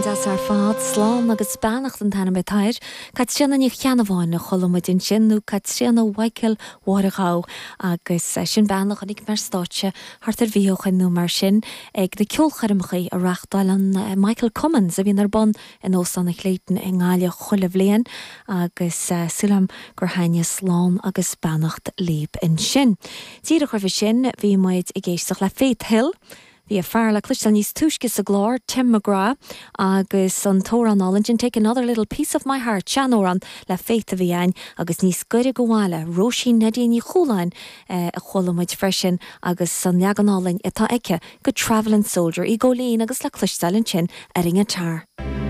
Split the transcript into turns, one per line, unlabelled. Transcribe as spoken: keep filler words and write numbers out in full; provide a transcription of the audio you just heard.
Amhrán deas ar fad slán agus beannacht an t-ainm atá air, Caitríona Ní Cheannabháin a chuala muid ansin nó Caitríona Mhichael Mháire Ghabh agus sin bean a chonaic mé ar stáitse thart ar mhí ó shin nó mar sin ag na ceolchoirmeacha a reáchtálann Michael Cummins a bhíonn ar bun in Óstán an Clayton i nGaillimh chuile bhliain agus súil agam gur thaitnigh slán agus beannacht libh ansin. Díreach roimhe sin bhí muid ag éisteacht le Faith Hill. Bhí a fear le cloisteáil níos túisce sa gclár Tim McGrath agus an t-amhrán álainn sin Take Another Little Piece of My Heart seanamhrán le Faith a bhí ann agus níos gaire do bhaile Róisín Neidí Ní Chualáin eh, a chuala muid freisin agus an leagan álainn atá aici de Travelin' Soldier í go lín agus le cloisteáil ansin ar an ngiotár.